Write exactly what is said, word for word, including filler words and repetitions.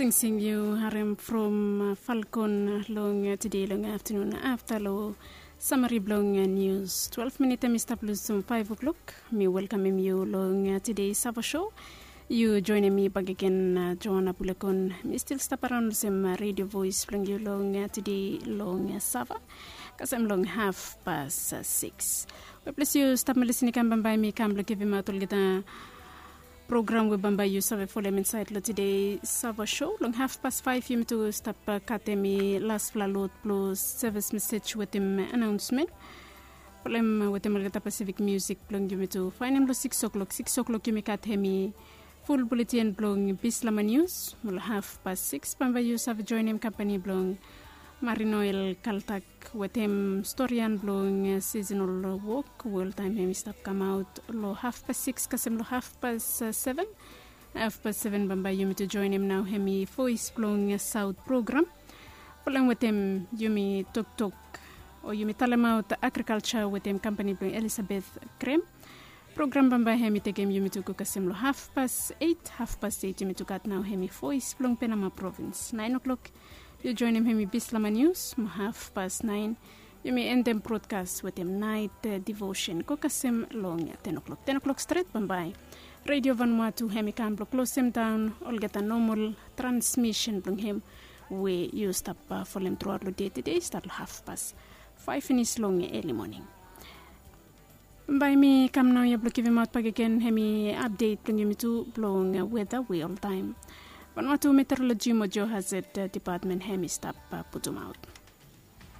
Singsing yu harem from Falcon long tede long aftanun afta long samari blong nius. Twelve minit em i stap lusim five o'clock. Mi welkamem yu long tede Sava show. Yu joinim mi bakegen, Joana Bulekon. Mi stil stap araon lusim Radio Voice blong yu long tede long Sava kasem long haf pas six. We ples yu stap melis ni kam bambae mi kam blong givimaot olgeta program we bambae yu save folem insaed long tede Sava show. Long haf pas faef yumi tu stap katem i laspela lot blong sevis mesej wetem anaonsmen. Folem wetem olgeta Pasifik musik blong yumi tu faenem long six o'clock. Six o'clock yumi katem i ful buletin blong Bislama Nius. Mo long haf pas six bambae yu save joinim kampani blong Marinoel Kaltak wetem storian blong seasonal wok we oltaem hem i stap kamaot long haf pas six kasem long haf pas seven. Haf pas seven bambae yumi tu joinim nao hem i Voes blong Saot program. Folem wetem yumi toktok o yumi talemaot agrikalsa wetem kampani blong Elisabeth Krem. Program bambae hem i tekem yumi tu go kasem long haf pas eit. Haf pas eit yumi tu gat nao hem i Voes blong Penama provins. Naen o'clock yu joinim hem i Bislama Nius. Mo haf pas naen yumi endem brodkas wetem naet devosen go kasem long ten o'clock. Ten o'clock stret bambae Radio Vanuatu hem i kam blong klosem daon olgeta nomol transmisen blong hem we yu stap folem truaot long de tede stat long haf pas faef finis long eli moning. Bae mi kam naoia blong givimaot bakegen hem i apdet blong yumi tu blong weta we oltaem Vanuatu Meteoroloji mo Geohazard Dipatmen hem i stap putumaot.